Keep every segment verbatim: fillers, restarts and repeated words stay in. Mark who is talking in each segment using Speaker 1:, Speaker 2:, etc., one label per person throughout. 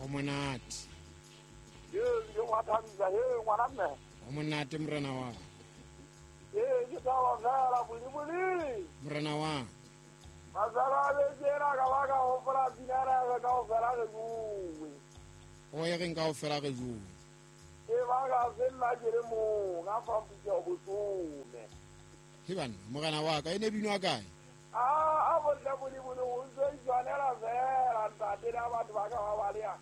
Speaker 1: O monate.
Speaker 2: Ee, ke wa thabisa he ngwana mme.
Speaker 1: O monate morena wa.
Speaker 2: Ee, ke taba fela buli-buli.
Speaker 1: Morena wa.
Speaker 2: Masala le tsena ka ba ka hopola dinara ka kaofela re bue.
Speaker 1: O ye reng kaofela re bue.
Speaker 2: E ba ka fella ke le mong a fa putso botome.
Speaker 1: He bana, morena wa ka e ne binwa kae?
Speaker 2: Ah, a bontle buli-buli o ntse itshwanela fela ntate le batho ba ka ba ba le ya.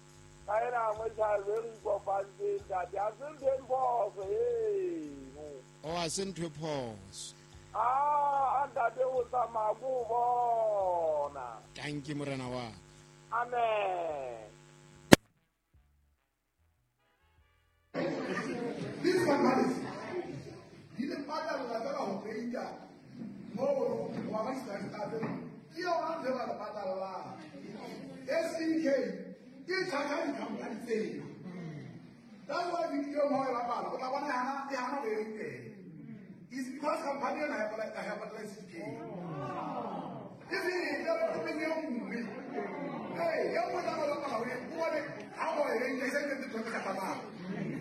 Speaker 2: Ka ena mo tshwarwe re ikopantse ntate a se ntho e phoso eno.
Speaker 1: O a se ntho e phoso.
Speaker 2: Ah, ntate o tsamaya ko bona.
Speaker 1: Thank you morena wa.
Speaker 2: Amen.
Speaker 3: These companies di le patala fela ho peita mo wa ba start ke yona ntho e ba le patalang. S E K ke charge di-company tsena. That's why video mo e bapala o tla bona e hana e hana ho e teng. It's because company ena ha e patala S E K. E se e le e nngwe. Ee, e nngwe tla ba bapala ho e bone ha o e reng e se ke tlo ka tsamaya.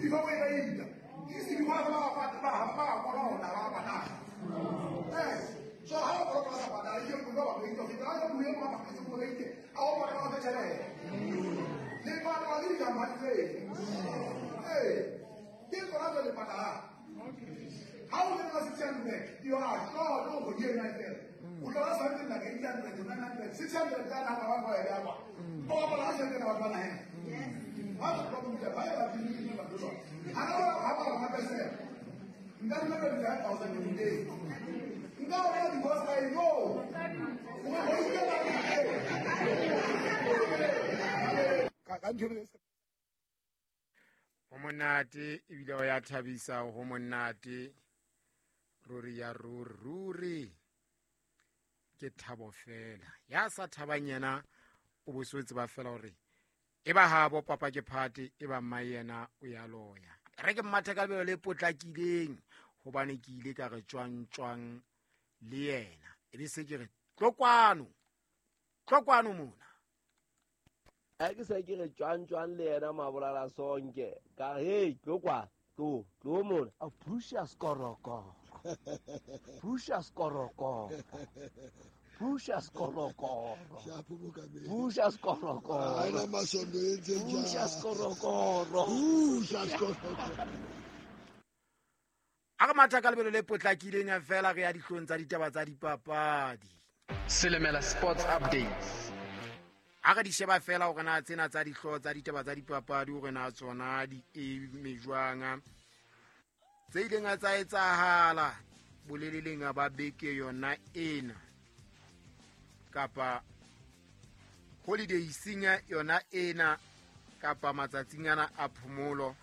Speaker 3: If o e reita, it's because ba ba ba ba kolota ba patala. Yes. So ha o kolota ba patala, ke go ba reita, ke tla go bua ba ke go reite, a o patala ka tjhelete. Le patala le di-company tsena. Ee, ke tsona tse le patalang. Ha o le ka six hundred, you are short o go ena fela. O tla something like eight hundred, nine hundred, six hundred ka na ba ba ya ba. O ba la tjhelete ba ba na he. Yes. Ha ba problem ke ba ya di ba do. Ha ba ha ba ba pese. Nka nna ka five thousand every day. Nka o ya divorce I know. O go ikela ka ka ntho
Speaker 1: ho monate ebile o ya thabisa ho monate ruri ya ruri ruri ke thabo fela ya sa thabang yena o boswetse ba fela hore e ba habo papa ke phate e ba mma yena o ya loya re ke mmatha ka lebelo le potlakileng hobane ke ile ka re tswang tswang le yena e be se ke re tlo kwano tlo kwano mona
Speaker 4: a ke se ke re tswang tswang le yena mabolala sonke ka hey tlo kwa tlo tlo mona a Precious Koroko Precious Koroko Precious Koroko Precious Koroko
Speaker 3: Aina masondo entse jang
Speaker 4: Precious Koroko
Speaker 3: Precious Koroko
Speaker 1: A re matha ka lebelo le potlakileng fela re ya dihlong tsa ditaba tsa dipapadi
Speaker 5: Selemela Sports Updates.
Speaker 1: A re di sheba fela hore na tsena tsa dihlooho tsa ditaba tsa dipapadi hore na tsona di eme jwang tse ileng tsa etsahala boleleleng ba beke yona ena kapa holiday senya yona ena kapa matsatsing ana a phomolo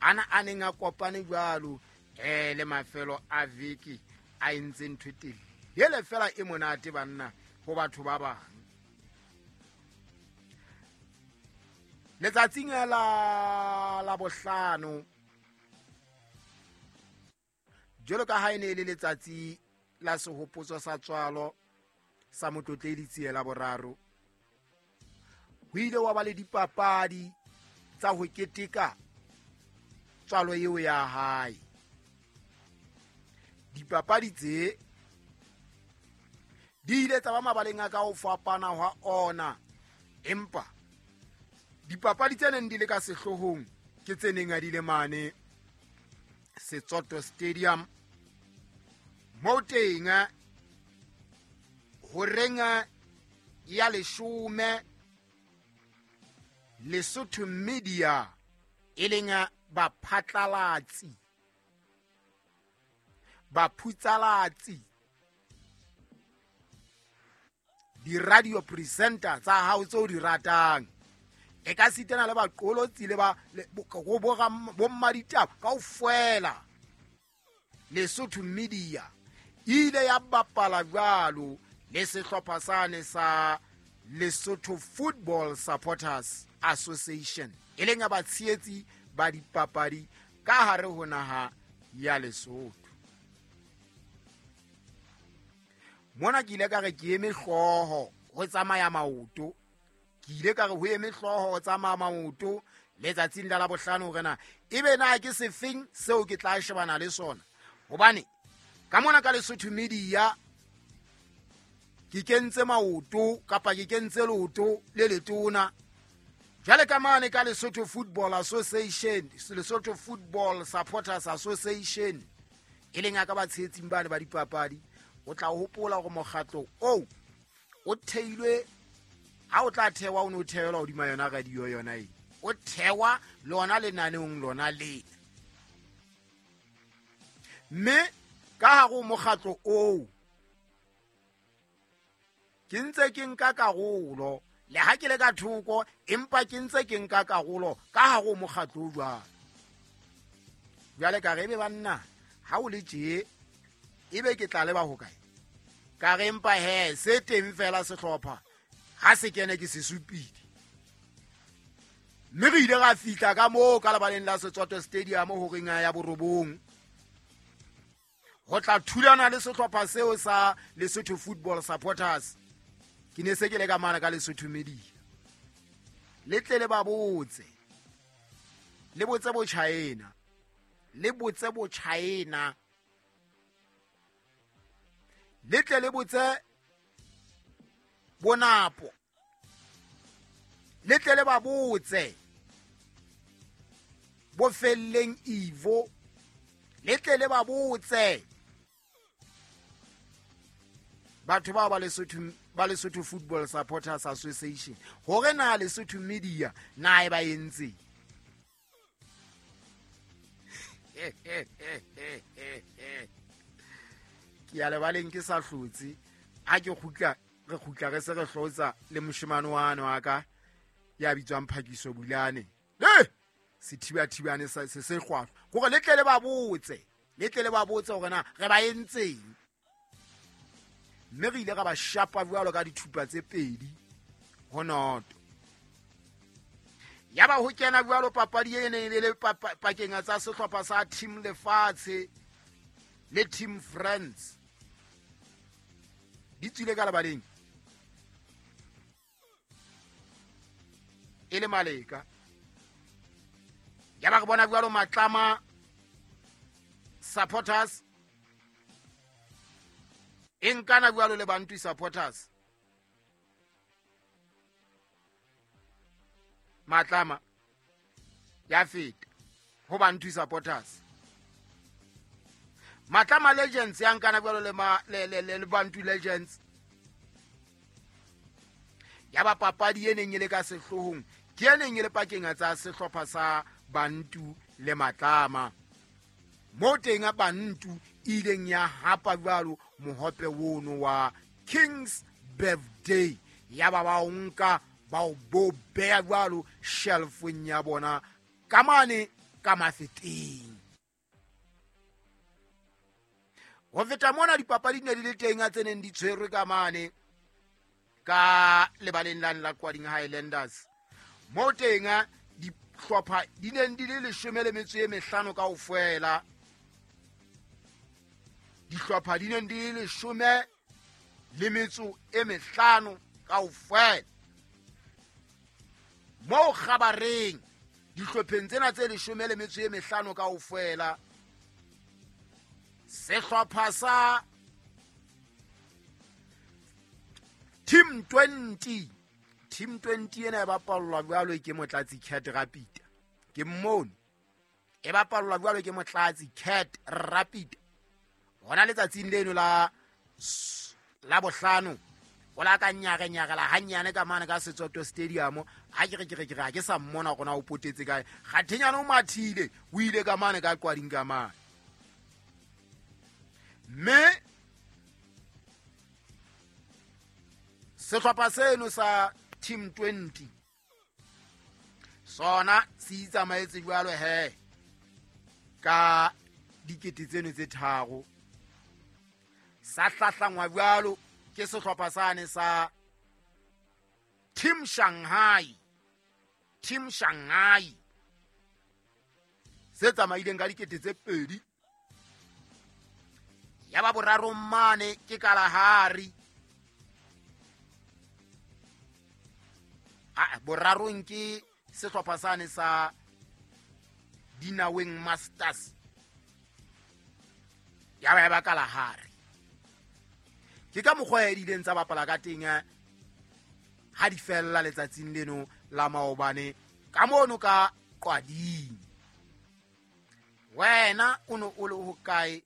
Speaker 1: ana a neng a kopane jwalo eh le mafelo a veke a entse ntho e telele fela e monate banna ho batho ba bang. Letsatsing la la bohlano jwalo ka ha e ne e le letsatsi la sehopotso sa tswalo sa Motlotledi Tsiela boraro ho ile wa ba le dipapadi tsa ho keteka tswalo eo ya hae. Dipapadi tse di ile tsa ba mabaleng a ka ho fapana hwa ona, empa dipapadi tse neng di le ka sehloohong ke tse neng a di le mane Setsoto Stadium mo teng ho renga ya leshome Lesotho Media e leng baphatlalatsi baphutsalatsi di-radio presenter tsa hao tseo di ratang e ka sitana le baqolotsi le ba bommaditaba kaofela. Lesotho Media ile ya bapala jwalo le sehlopha sane sa Lesotho Football Supporters Association e leng ya batshehetsi ba dipapadi ka hare ho naha ya Lesotho. Mona ke ile ka re ke eme hlooho ho tsamaya maoto Ke ile ka re ho eme hlooho ho tsamaya maoto letsatsing la Labohlano hore na ebe na ke sefeng seo ke tla shebana le sona. Hobane ka mona ka Lesotho Media ke kentse maoto kapa ke kentse leoto le letona. Jwale ka mane ka Lesotho Football Association, Lesotho Football Supporters Association, e leng ka ba tshehetsing bane ba dipapadi, o tla hopola hore mokgatlo oo o theilwe ha o tla thewa o no theelwa hodima yona radio yona e. O thewa lona lenaneong lona le. Mme ka hare ho mokgatlo oo ke ntse ke nka karolo, le ha ke le ka thoko empa ke ntse ke nka karolo ka hare ho mokgatlo o jwalo. Jwale ka re ebe banna ha o le tje ebe ke tla leba hokae? Ka re empa he se teng fela sehlopha ha se kene ke se supile. Mme re ile ra fihla ka moo ka lebaleng la Setswato Stadium horeng ya borobong ho tla thulana le sehlopha seo sa Lesotho Football Supporters. Ke ne se ke le ka mane ka Lesotho Media. Le tle le ba botse, le botse bo China, le botse bo China, le tle le botse bonapo, le tle le ba botse bo felleng Ivo, le tle le ba botse batho ba ba Lesotho ba Lesotho Football Supporters Association hore na Lesotho Media na e ba entse. Ke ya lebaleng ke sa hlotse, ha ke kgutla re kgutla re se re hlotsa le moshemane wane wa ka ya bitswang Phakiso Bulane. Eh, sethibathibane se se hlwahlwa hore le tle le ba botse, le tle le ba botse hore na re ba entseng. Mme re ile ra ba shapa jwalo ka dithupa tse pedi ho noto. Ya ba ho kena jwalo papadi e neng e le pakeng tsa sehlopha sa Team Lefatshe le Team Friends. Di tswile ka lebaleng e le maleka. Ya ba re bona jwalo Matlama Supporters e nkana jwalo le Bantu Supporters. Matlama ya feta ho Bantu Supporters. Matlama Legends ya nkana jwalo le ma le le le Bantu Legends. Ya ba papadi e neng e le ka sehlohong ke e neng e le pakeng tsa sehlopha sa Bantu le Matlama. Mo teng a Bantu ileng ya hapa jwalo mohope wono wa King's Birthday. Ya ba ba nka ba o bo beya jwalo shelfong ya bona ka mane ka mafeteng. Ho feta mona dipapadi di ne di le teng tse neng di tshwerwe ka mane ka lebaleng la la Kwading Highlanders. Mo teng dihlopha di neng di le leshome le metso e mehlano kaofela. Dihlopha di neng di le leshome le metso e mehlano kaofela. Mo kgabareng dihlopheng tsena tse leshome le metso e mehlano kaofela, sehlopha sa Team twenty, Team twenty ena e bapallwa jwalo ke Motlatsi Cat Rapid. Ke mmone e bapallwa jwalo ke Motlatsi Cat Rapid. Hona letsatsing leno la la bohlano o la ka nyare nyare la hanyane ka mane ka Setswato Stadium. Ha ke re ke re ke re ke sa mmona gona o potetse kae. Kgathenyana o mathile o ile ka mane ka Kwading ka mane. Mme sehlopha seno sa Team twenty sona se itsamaetse jwalo he ka dikete tseno tse tharo. Sa hlahlangwa jwalo ke sehlopha sane sa Team Shanghai, Team Shanghai se tsamaileng ka dikete tse pedi. Ya ba boraro mane ke Kalahari. A borarong ke sehlopha sane sa Dinaweng Masters ya ba ba Kalahari. Ke ka mokgwa e dileng tsa bapala ka teng ha di fella letsatsing leno la maobane ka mono ka Qwading. Wena o no o le hokae